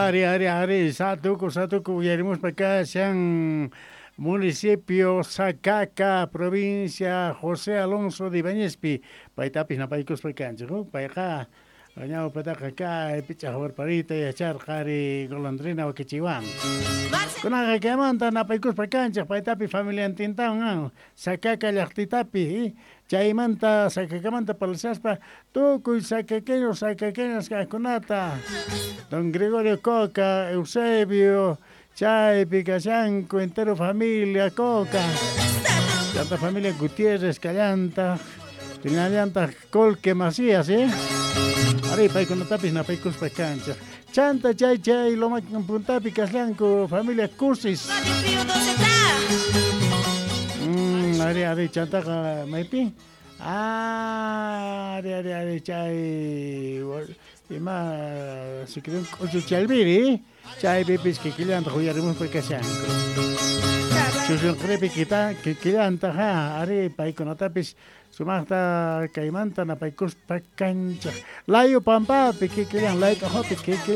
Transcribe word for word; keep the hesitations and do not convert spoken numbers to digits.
Ari, ari, ari, satuku, satuku, uyarimuspa kashan municipio Sacaca, provincia José Alonso de Ibañezpi, paytapis napaykuspa kanchik, payqa ñawpataqa kay pichaq warparita yacharqa ari golondrina wakichiwan. Kunaqa kaymanta napaykuspa kanchik paytapi familiantintawan Sacaca llaqtitapi, chaymanta Sacacamanta parlaspa tukuy sacaqueños sacaqueñas kaqkunata Don Gregorio Coca, Eusebio, chaypi kashanku entero familia Coca, chanta familia Gutiérrez kallantaq, tinallantaq Colque Macías, eh? Ari paykunatapis napaykuspa kanchik. Chanta chay chay loma puntapi kashanku familia Cusis. Mm, ari ari chantaqa maypi? Ah, ari ari ari chay ima sikirun k'uchu chalviri, chaypipis kikillantaq uyarimuspa kashanku. Chushunqripi kita kikillantaq ha, ari paykunatapis sumaqta kaymanta napaykuspa kanchik. Layo pampapi kikillan, layt'uqapi kikillan.